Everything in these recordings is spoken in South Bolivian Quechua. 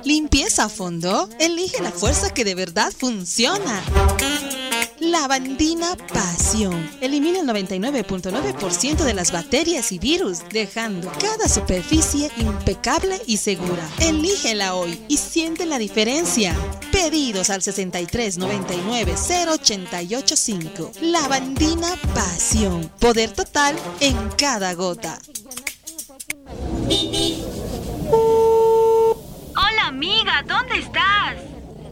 Limpieza a fondo. Elige la fuerza que de verdad funciona. Lavandina Pasión. Elimina el 99.9% de las bacterias y virus, dejando cada superficie impecable y segura. Elígela hoy y siente la diferencia. Pedidos al 63 99 088 5. Lavandina Pasión. Poder total en cada gota. Hola amiga, ¿dónde estás?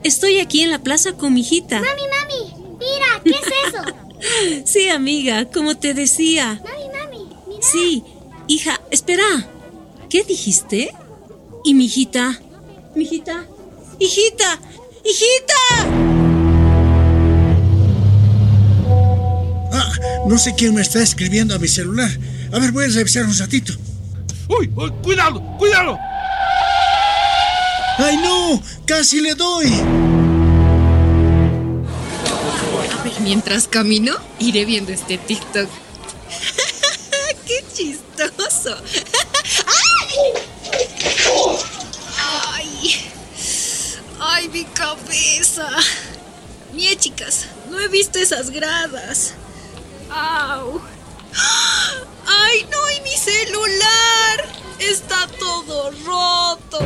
Estoy aquí en la plaza con mi hijita. Mami, mami, mira, ¿qué es eso? Sí, amiga, como te decía. Mami, mami, mira. Sí, hija, espera. ¿Qué dijiste? ¿Y mi hijita? ¿Mi hijita? ¡Hijita! ¡Hijita! Ah, no sé quién me está escribiendo a mi celular. A ver, voy a revisar un ratito. ¡Uy! uy cuidado! ¡Cuidado! ¡Ay, no! ¡Casi le doy! A ver, mientras camino, iré viendo este TikTok. ¡Qué chistoso! ¡Ay! ¡Ay! ¡Ay, mi cabeza! Mie, chicas, no he visto esas gradas. ¡Au! ¡Ay, no! ¡Y mi celular! ¡Está todo roto!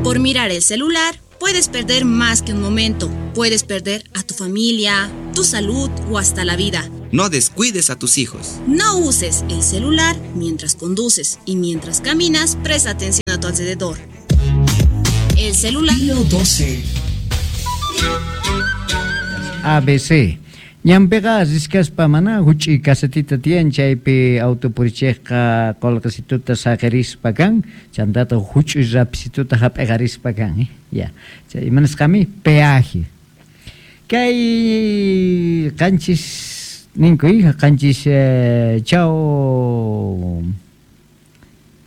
Por mirar el celular, puedes perder más que un momento. Puedes perder a tu familia, tu salud o hasta la vida. No descuides a tus hijos. No uses el celular mientras conduces y mientras caminas, presta atención a tu alrededor. El celular. 12. ABC. Ñanpiqa riskaspa mana huch'i kasetita tiyan chaypi autopurichejqa qolqesituta saqirispa kan, chantata huch'uy rapisituta hap'iqarispa kan, ya. Chay imanasqami peaje. Kay qanchis ninku hija, qanchis chaw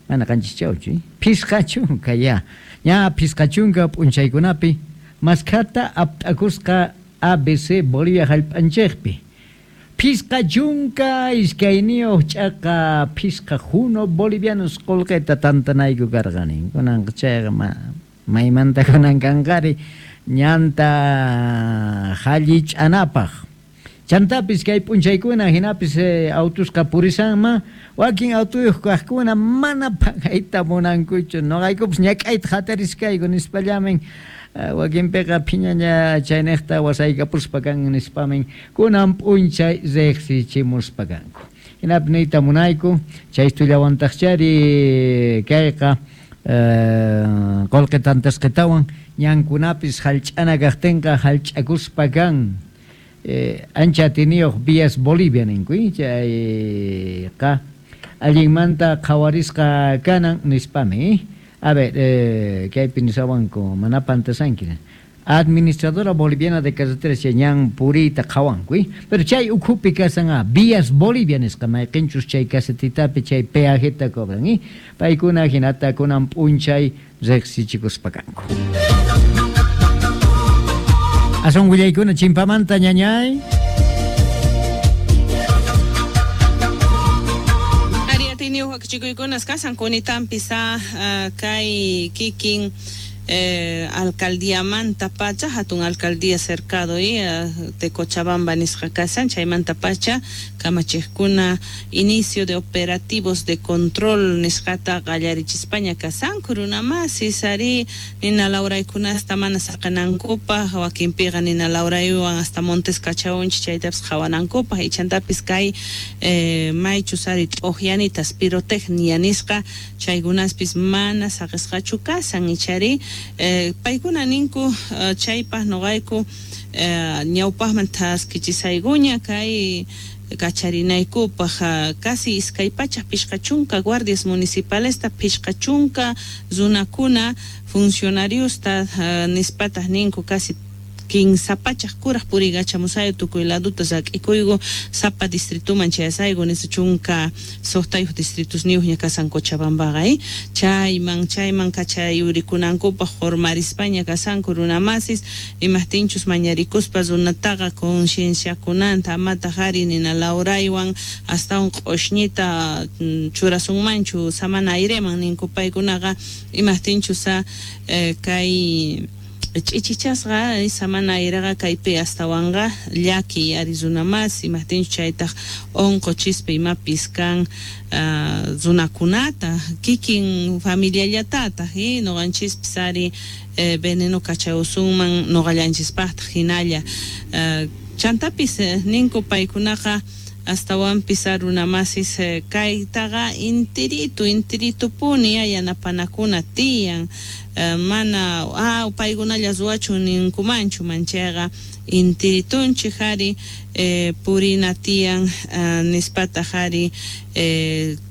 mana qanchis chawchu, phisqa chunka ya. Ña phisqa chunka p'unchaykunapi maskhata apt'akusqa ABC Bolivia hallp'anchikpi. Phisqa chunka iskayniyuq ch'aqa phisqa juno bolivianos qullqita tantanayku karqani. Kunanqa chayqa maymanta kunan kanqari ñanta hallich'anapaq. Chantapis kay p'unchaykuna hinapis autusqa purisanma wakin autuyuq kaqkuna mana pagayta munankuchu. Noqaykupas ñak'ayta hatariskayku nispallamin wakinpiqa phiñaña chayniqta wasaykapuspa kan nispamin kunan p'unchay riqsichimuspa kanku. Hinapi niyta munayku chay tullawantaqchari kayqa qullqi tantasqitawan ñankunapis hallch'ana kaqtinqa hallch'akuspa kan. Ancha atiniyuq Vías Bolivia ninku chayqa allinmanta qhawarisqa kanan nispami. A ver, kaypi nisawanku mana pantasanki. Administradora Boliviana de Carreteras ñan puriyta qhawanku, pero chay ukhupi kasan Vías Bolivia nisqa mayqinchus chay kasetitapi chay peajeta cobran, paykuna hinata kunan p'unchay riqsichikuspa kanku. Asun willaykuna chimpamanta ñañay. Chikuykunas kasan kunitanpis kay kikin alcaldíamanta pacha hatun alcaldía cercado y de Cochabamba nisqa kasan chaymanta pacha kamachiqkuna inicio de operativos de control nisqata qallarichispaña kasanku runamasis ari nina lawraykunasta mana saqanankupaq wakinpiqa nina lawraywan hasta Montes Cachaunchi chaytapis qhawanankupaq ichantapis kay maychus ari t'uqyanitas pirotecnia nisqa chaykunaspis mana saqisqachu kasan ichari paykuna ninku chaypaq noqayku ñawpaqman thaskichisaykuña kay kacharinaykupaq casi iskay pachaq pishqa chunka guardias municipalesta pishqa chunka runakuna funcionariosta nispataq ninku casi Kinsa pachaj kuraj puriykachamusayku tukuy laduta rak'ikuyku sapa distrituman chayasayku nispa chunka suqtayuq distritusniyuqña kasan Cochabambaqa chayman chayman kachayurikunankupaq qurmarispaña kasanku runamasis imajtinchus mañarikuspa runataqa concienciakunanta amataq ari nina lawraywan astawan q'ushñita churasunmanchu samana aireman ninku paykunaqa imajtinchus kay ch'ichichasqa samana ayraqa kaypi astawanqa llaki ari runamasi imajtinchus chaytaq unquchispa imapis kan runakunata kikin familiallatataq nuqanchispis ari veneno kachawsunman nuqallanchispaqtaq hinalla chantapis ninku paykunaqa astawanpis runamasis kaytaqa intiritu intiritupuni yanapanakuna tiyan mana paykunalla ruwachun ninkumanchu manchayqa intiritunchik ari purina tiyan nispataq ari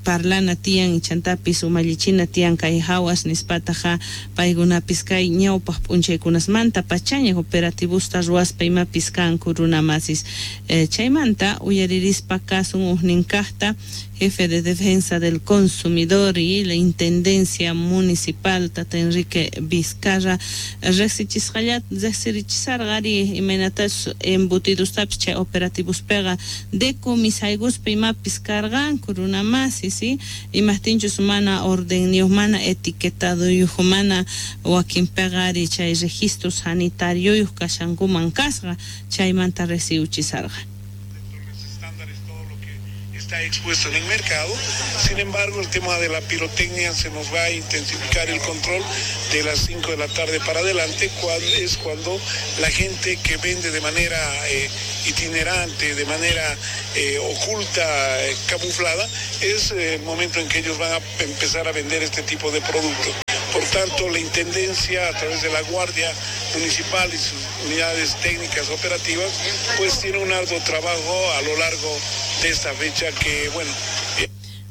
parlana tiyan chantapis umallichina tiyan kay hawas nispataqa paykunapis kay ñawpaq p'unchaykunasmanta pachaña operativosta ruwaspa imapis kanku runamasis chaymanta uyaririspa kasun ujninkaqta jefe de defensa del consumidor y la intendencia municipal tata Enrique Vizcarra riqsichisqallat ari imaynatas embutidostapis chay operativospiqa decomisaykuspa imapis karqanku runamasis imajtinchus mana ordenniyuq mana etiquetaduyuq mana wakinpiqa ari chay registro sanitarioyuq kashankuman kasqa chaymanta riqsiwchisarqa. Está expuesto en el mercado. Sin embargo, el tema de la pirotecnia se nos va a intensificar el control de las 5 de la tarde para adelante, cual es cuando la gente que vende de manera itinerante, de manera oculta, camuflada, es el momento en que ellos van a empezar a vender este tipo de productos. Por tanto, la Intendencia, a través de la Guardia Municipal y sus unidades técnicas operativas, pues tiene un arduo trabajo a lo largo de esta fecha que, bueno...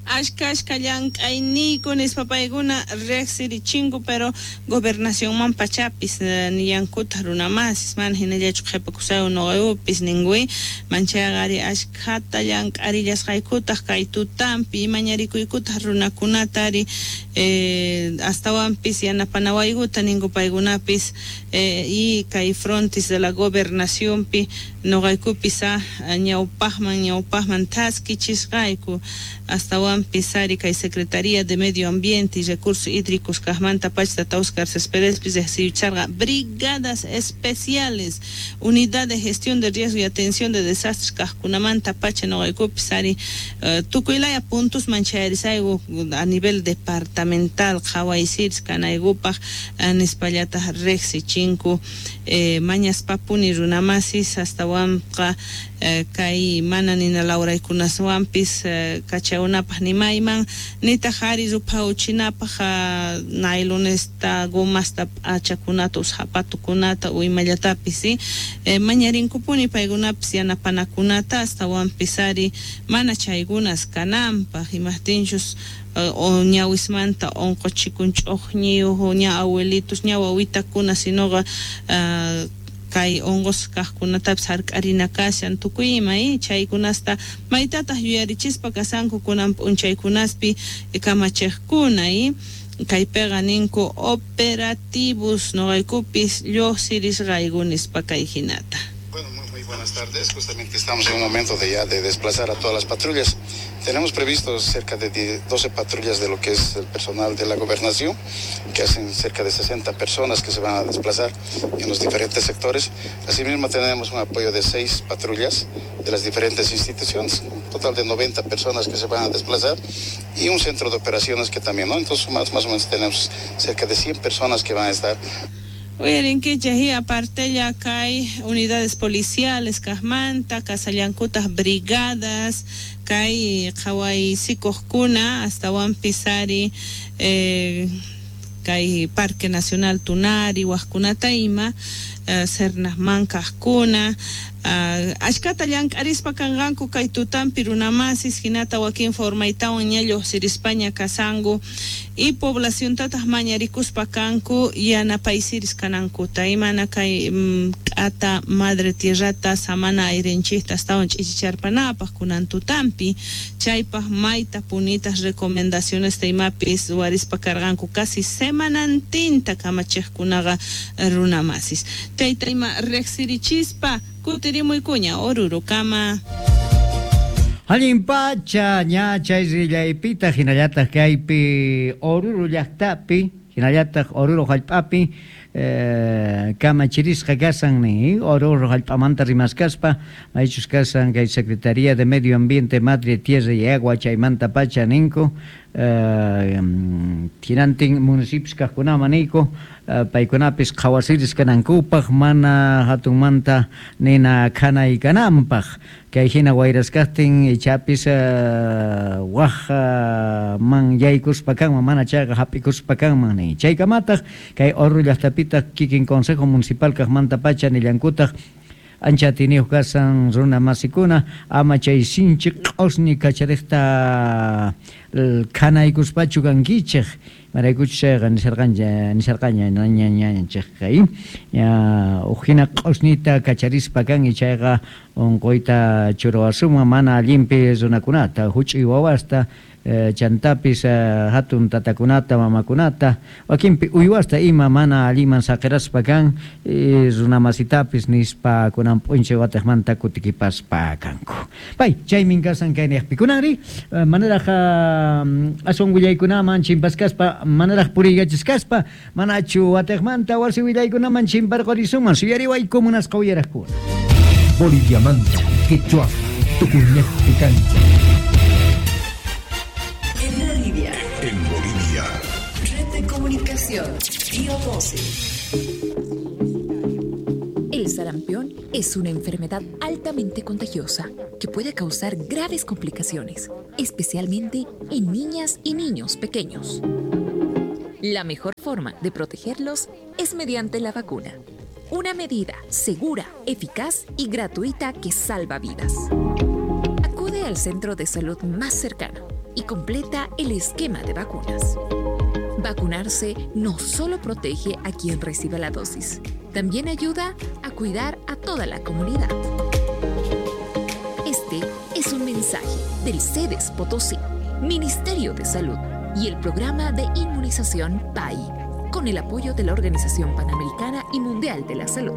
Ashka ashka llank'ayniyku nispa paykuna riqsirichinku pero gobernacionman pachapis nillankutaq runamasis mana hinallachu qhipakusayku nuqaykupis ninkuy manchayqa ari ashkhata llank'arillasqaykutaq kay tutampi mañarikuykutaq runakunata ari astawanpis yanapanawaykuta ninku paykunapis y kay frontis de la gobernacionpi nuqaykupis ñawpaqman thaskichisqayku astawan Pisari kay Secretaría de Medio Ambiente y Recursos Hídricos kaqmanta pacha tata Oscar Céspedes riqsiyucharqa brigadas especiales unidad de gestión de riesgo y atención de desastres kaqkunamanta pacha nuqaykupis ari tukuylaya puntos manchayarisayku a nivel departamental qhawaysiris kanaykupaq nispallataq riqsichinku mañaspapuni runamasis astawanqa kay mana nina lawraykunaswanpis kachaunapaq nimayman nitaq ari ruphawchinapaq nailonesta gomasta p'achakunata o zapatukunata o imallatapis mañarinkupuni paykunapis yanapanakunata astawanpis ari mana chaykunas kananpaq imajtinchus o ñawismanta unquchikun ch'uqñiyuq ña abuelitos ña wawitakuna sinoqa kay unqusqa kaqkunatapis hark'arina kashan tukuy ima chaykunasta maytataq yuyarichispa kasanku kunan p'unchaykunaspi kamachiqkuna kaypiqa ninku operativos nuqaykupis lluqsirisqayku nispa kay hinata. Bueno, muy buenas tardes. Justamente estamos en un momento de ya de desplazar a todas las patrullas. Tenemos previsto cerca de 12 patrullas de lo que es el personal de la gobernación, que hacen cerca de 60 personas que se van a desplazar en los diferentes sectores. Asimismo, tenemos un apoyo de 6 patrullas de las diferentes instituciones, un total de 90 personas que se van a desplazar y un centro de operaciones que también, ¿no? Entonces, más o menos tenemos cerca de 100 personas que van a estar. Uyarinkichik aparte kay unidades policiales kaqmanta kasallankutaq brigadas kay qhawaysikuqkuna astawanpis ari kay Parque Nacional Tunari waqkunata ima Sernaqman kaqkuna ashkata llank'arispa kanqanku kay tutampi runamasis hinata wakin formaytawan ña lluqsirispaña kasanku y poblaciontataq mañarikuspa kanku yanapaysiris kanankuta imana kay k'ata madre tierrata samana ayrinchikta astawan ch'ichicharpanapaq kunan tutampi chaypaq mayta punitas recomendaciones imapis ruwarispa karqanku casi semanantinta kamachiqkunaqa runamasis chayta ima riqsirichispa kutirimuykuña Orurokama. Allin pacha ña chay rillaypita hinallataq kaypi Oruro llaqtapi hinallataq Oruro hallp'api kamachirisqa kasan ni Oruro hallp'amanta rimaskaspa maychus kasan kay Secretaría de Medio Ambiente, Madre Tierra y Agua chaymanta pacha ninku hinantin municipios kaqkunaman niyku paykunapis qhawasiris kanankupaq mana hatunmanta nina khanay kananpaq kay hina wayraskaqtin ichapis waj man yaykuspa kanman mana chayqa hap'ikuspa kanman ni chaykamataq kay Oruro llaqtapitaq kikin Consejo Municipal kaqmanta pacha nillankutaq ancha atiniyuq kasan runa masikuna ama chay sinchi q'usñi kachariqta khanaykuspachu kankichik maraykuchus chayqa nisharqaña ñañanchikqa uj hina q'usñita kacharispa kan chayqa unquyta churawasunman mana allinpi runakunata huch'uy wawasta chantapis hatun tatakunata mamakunata wakinpi uywasta ima mana alliman saqiraspa kan runamasitapis nispa kunan p'unchay wataqmanta kutikipaspa kanku. Pay chaymin kasan kayniqpi kunanri manaraq aswan willaykunaman chimpaskaspa manaraq puriykachisqaspa manachu wataqmanta wasi willaykunaman chimparqurisunman suyariwayku munasqa uyaraqkuna. Boliviamanta, Quechua, Tucuñaqpi kancha. En Bolivia. Red de comunicación, Río 12. El sarampión es una enfermedad altamente contagiosa que puede causar graves complicaciones, especialmente en niñas y niños pequeños. La mejor forma de protegerlos es mediante la vacuna. Una medida segura, eficaz y gratuita que salva vidas. Acude al centro de salud más cercano y completa el esquema de vacunas. Vacunarse no solo protege a quien reciba la dosis, también ayuda a cuidar a toda la comunidad. Este es un mensaje del CEDES Potosí, Ministerio de Salud y el Programa de Inmunización PAI, con el apoyo de la Organización Panamericana y Mundial de la Salud.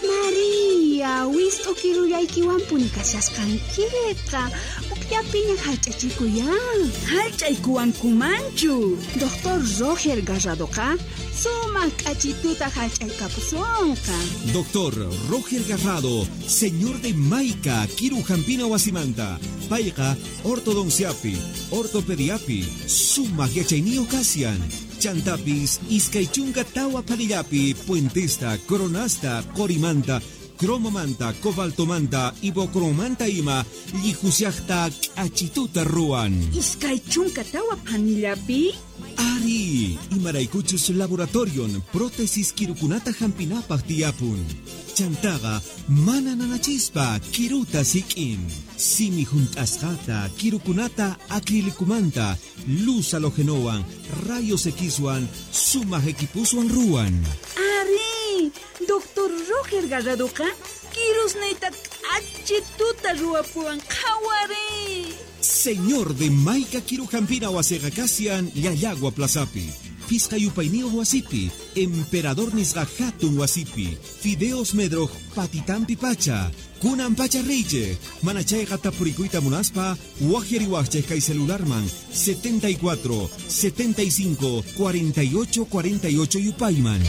María, wist'ukirullaykiwanpuni kashasqankiqa ukllapiña hallch'achikuyan. Hallch'aykuwankumanchu. Doctor Roger Garradoqa sumaq k'achituta hallch'aykapusunqa. Doctor Roger Garrado, señor de Maica, Kirujampina wasimanta, payqa ortodonciapi, ortopediapi, sumaq yachayniyuq kasian. Chantapis, iskay chunka tawa phanillapi, puentesta, coronasta, qorimanta, cromomanta, cobaltomanta, ibocromanta ima, llijusiaqta k'achituta ruwan. Iskay chunka tawa phanillapi? Ari, imaraykuchus laboratorion prótesis kirukunata hampinapaq tiyapun. Chantaqa mana nanachispa kiruta sik'in. Simi junt'asqata kirukunata acrilicumanta, luz halogenowan, rayos Xwan, sumaq equipuswan ruwan. Ari, Doctor Roger Garradoqa kirusniyta k'achituta ruwapuwan qhawari. Señor de Maica Kirujampina wasiqa kasian Llallagua Plazapi, Pisqa yupayniyuq wasipi, Emperador nisqa hatun wasipi, Fideos Medroj patitampi pacha, kunan pacha riychej, mana chayqa tapurikuyta munaspa, wajyariwajchej kay celularman 74 75 48 48 yupayman.